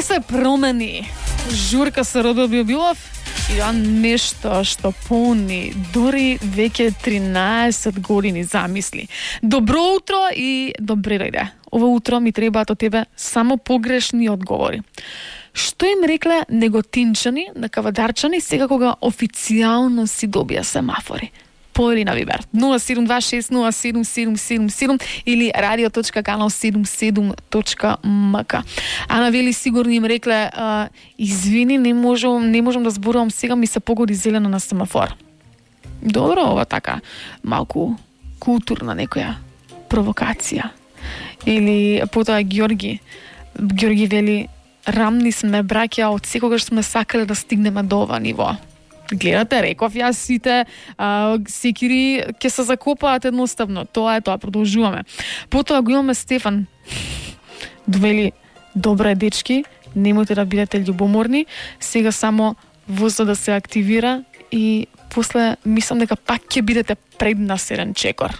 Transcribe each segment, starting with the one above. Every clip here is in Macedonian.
се промени журка со Родо Биобилов и нешто што полни дори веќе 13 години замисли. Добро утро и добре дојде. Ова утро ми требаат од тебе само погрешни одговори. Што им рекле неготинчани на кавадарчани сега кога официјално си добија семафори? Поели на Вибер 0726077777 или radio.kanal77.mk. Ана вели сигурно им рекле извини, не можам да зборувам сега, ми се погоди зелено на семафор. Добро, ова така малку културна некоја провокација. Или потоа Георги вели рамни сме браќа, од секогаш сме сакале да стигнеме до ова ниво. Гледате, реков јас сите секири ќе се закопаат едноставно. Тоа е тоа, продолжуваме. Потоа го имаме Стефан. Довели, добре дечки, немојте да бидете љубоморни, сега само возот да се активира и после мислам дека пак ќе бидете преднасерен чекор.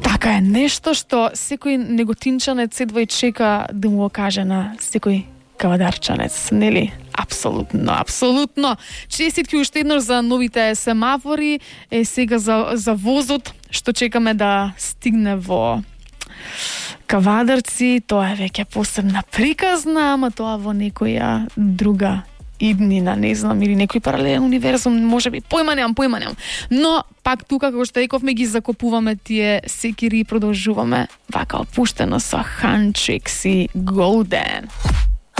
Така е, нешто што секој неготинчанец едва и чека да му го каже на секој кавадарчанец, нели? Апсолутно. Честитки уште еднаш за новите семафори, сега за возот, што чекаме да стигне во Кавадарци, тоа е веќе посебна приказна, ама тоа во некоја друга иднина, не знам, или некој паралелен универзум, можеби, појма немам. Но, пак тука, како што рековме, ги закопуваме тие секири и продолжуваме вака опуштено со Ханчикс и Голден.